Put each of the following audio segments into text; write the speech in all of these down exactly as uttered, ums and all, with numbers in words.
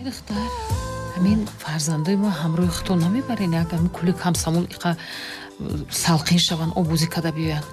Духтар, ҳамин фарзандои мо ҳамроҳи худтон намебарен, як ҳамин кули Комсомол иқа салқин шаванд, оббозӣ када биёянд.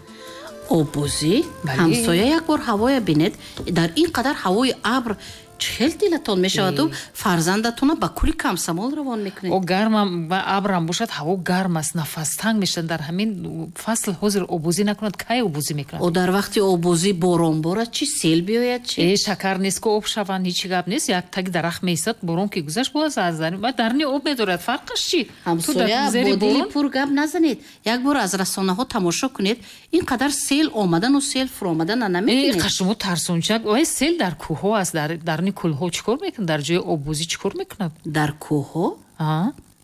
Оббозӣ? Ҳамсоя, як бор ҳавоя бинед, дар ин қадар ҳавои абр чӣ хел дилатон мешаваду фарзандатона ба кули Комсомол равон мекунед? О, гармам ва абрам бошад, ҳаво гарм аст, нафастанг мешавад. Дар ҳамин фасл ҳозир оббозӣ накунад, кай оббозӣ мекунад? О, дар вақти оббозӣ борон борад чӣ, сел биёяд чӣ? Э, шакар нест ку об шаванд, ҳечи гап нест. Як таги дарахт меистад, борон ки гузашт, боз аз дарни об медорад. Фарқаш чӣ? Ҳамсоя, бо дили пур гап назанед. Як бор аз расонаҳо тамошо кунед, ин қадар сел омадану сел фуромадана намебинед. Э, қашумо тарсончак. Ой, сел дар кӯҳҳо аст, дар дарни кӯлҳо чӣ кор мекунад? Дар ҷои оббозӣ чӣ кор мекунад? Дар кӯҳҳо?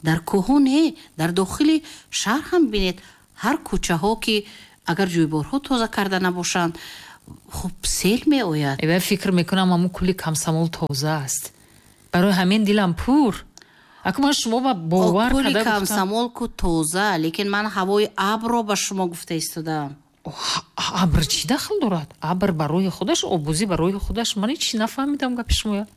Дар кӯҳҳо не, дар дохили шаҳр ҳам бинед, ҳар кӯчаҳо ки агар ҷӯйборҳо тоза карда набошанд, хуб сел меояд. Э, фикр мекунам ҳамун кули Комсомол тоза аст. Барои ҳамин дилам пур. Аку ман шумо ба бовар кули карда гуфтам. Комсомол ку тоза, лекин ман ҳавои абрро ба шумо гуфта истодаам. Абр чӣ дахл дорад? Абр барои худаш, оббозӣ барои худаш. Ман ҳеч нафаҳмидам гапи шумоя.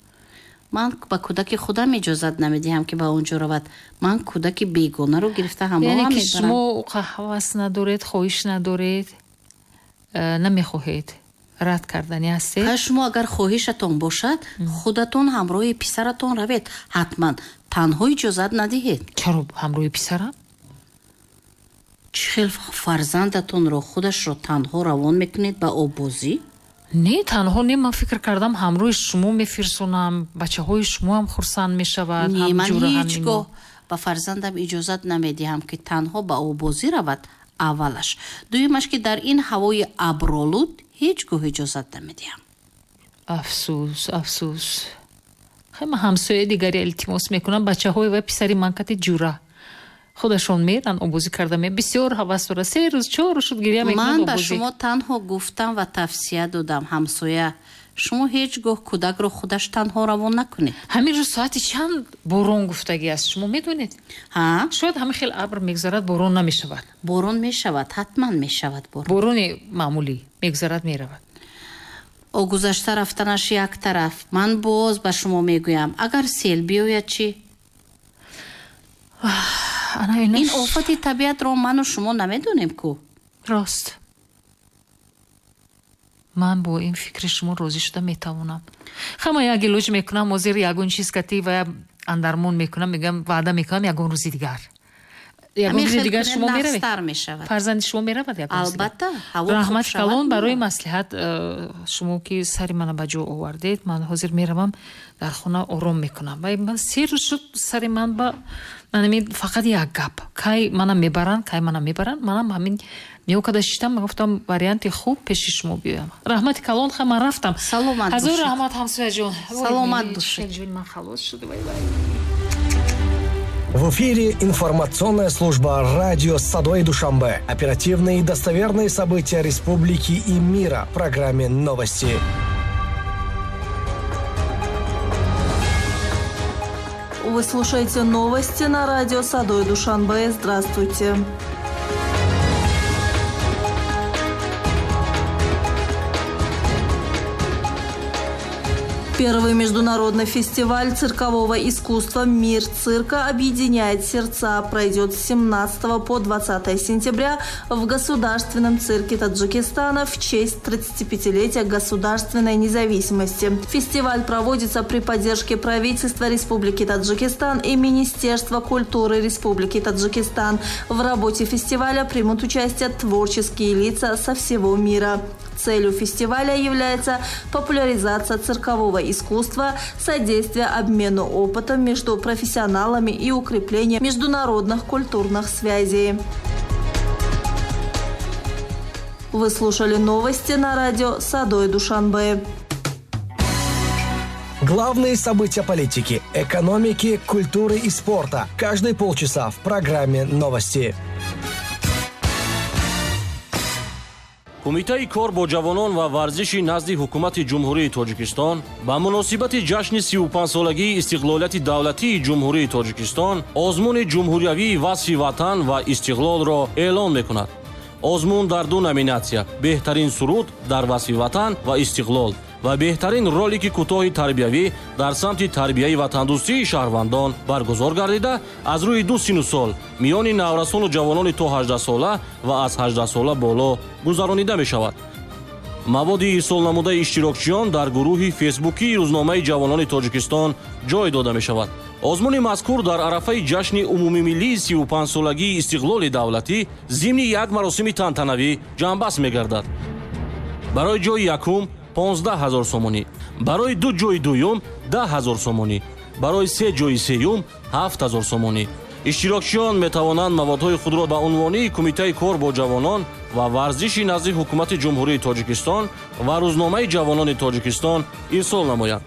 Ман ба кӯдаки худам иҷозат намедиҳам, ки ба он ҷо равад. Ман кӯдаки бегонаро гирифта ҳамроҳам Яъне ки мебарам. шумо ҳавас надоред, хоҳиш надоред, э, намехоҳед, рад кардани ҳастед? Ха, шумо агар хоҳишатон бошад, худатон ҳамроҳи писаратон равед. Ҳатман танҳо иҷозат надиҳед. Чаро ҳамроҳи писарам? Чӣ хел фарзандатонро худашро танҳо равон мекунед ба оббозӣ? Не, танҳо не, ман фикр кардам ҳамроҳи шумо мефирсонам, бачаҳои шумоам хурсанд мешавад. Не, ман ҳамҷура, ҳеҷ ҳамино. гоҳ ба фарзандам иҷозат намедиҳам, ки танҳо ба оббозӣ равад. Аввалаш. Дуюмаш, ки дар ин ҳавои абролуд ҳеҷ гоҳ иҷозат намедиҳам. Афсӯс, афсӯс. Хай, ман ҳамсояи дигаре илтимос мекунам, бачаҳои ва писари ман кати ҷура худашон меран, оббозӣ карда ме. Бисёр ҳавас дорад. Се рӯз, чор рӯз шуд гиря мекунад Ман ба оббозӣ. шумо танҳо гуфтам ва тавсия додам, ҳамсоя. Шумо ҳеҷ гоҳ кӯдакро худаш танҳо равон накунед. Ҳамин рӯз соати чанд борон гуфтагӣ аст, шумо медонед? Ҳа? Шояд ҳамин хел абр мегузарад, борон намешавад. Борон мешавад, ҳатман мешавад борон. Борони маъмулӣ мегузарад, меравад. О, гузашта рафтанаш як тараф. Ман боз ба шумо мегӯям, агар сел биёяд чӣ? Ана инаш Ин офати табиатро ману шумо намедонем ку. Рост. Ман бо ин фикри шумо розӣ шуда метавонам. Хама як илоҷ мекунам, ҳозир ягон чиз кати ва андармон мекунам, мегӯям, ваъда мекунам ягон рӯзи дигар. Ягон Ҳамин рӯзи хел дигар кунед, шумо меравед? нағзтар мешавад. Фарзанди шумо меравад ягон рӯзи дигар? Албатта, ҳаво хуб Раҳмати шавад, калон барои меравад. маслиҳат, э, шумо ки сари мана ба ҷо овардед, ман ҳозир меравам дар хона ором мекунам. Вай ман се рӯз шуд сари ман ба манами фақат як гап. Кай мана мебаранд, кай мана мебаранд, манам ҳамин ниё када шиштам, гуфтам варианти хуб пеши шумо биёям. Раҳмати калон, ха ман рафтам. Саломат Ҳазор бошед. раҳмат, ҳамсояҷон. Саломат бошед. Ҷон, ман халос шуд. Вай, вай. В эфире информационная служба радио «Садои Душанбе». Оперативные и достоверные события республики и мира в программе «Новости». Вы слушаете новости на радио «Садои Душанбе». Здравствуйте. Первый международный фестиваль циркового искусства «Мир цирка объединяет сердца» пройдет с семнадцатого по двадцатое сентября в Государственном цирке Таджикистана в честь тридцатипятилетия государственной независимости. Фестиваль проводится при поддержке правительства Республики Таджикистан и Министерства культуры Республики Таджикистан. В работе фестиваля примут участие творческие лица со всего мира. Целью фестиваля является популяризация циркового искусства, содействие обмену опытом между профессионалами и укрепление международных культурных связей. Вы слушали новости на радио «Садои Душанбе». Главные события политики, экономики, культуры и спорта. Каждые полчаса в программе «Новости». Кумитаи кор бо ҷавонон ва варзиши назди ҳукумати Ҷумҳурии Тоҷикистон ба муносибати ҷашни сию панҷсолагии истиқлолияти давлатии Ҷумҳурии Тоҷикистон озмуни ҷумҳуриявии васфи ватан ва истиқлолро эълон мекунад. Озмун дар ду номинатсия: беҳтарин суруд дар васфи ватан ва истиқлол ва беҳтарин ролики кӯтоҳи тарбиявӣ дар самти тарбияи ватандӯстии шаҳрвандон баргузор гардида, аз рӯи ду сину сол миёни наврасону ҷавонони то ҳаждаҳсола ва аз ҳаждаҳсола боло гузаронида мешавад. Маводи ирсолнамудаи иштирокчиён дар гурӯҳи фейсбукии рӯзномаи ҷавонони Тоҷикистон ҷой дода мешавад. Озмуни мазкур дар арафаи ҷашни умумимиллии сию панҷсолагии истиқлоли давлатӣ зимни як маросими тантанавӣ ҷамъбаст мегардад. Барои ҷои якум понздаҳ ҳазор сомонӣ, барои ду ҷои дуюм даҳ ҳазор сомонӣ, барои се ҷои сеюм ҳафт ҳазор сомонӣ. Иштирокчиён метавонанд маводҳои худро ба унвони Кумитаи кор бо ҷавонон ва варзиши назди Ҳукумати Ҷумҳурии Тоҷикистон ва рӯзномаи ҷавонони Тоҷикистон ирсол намоянд.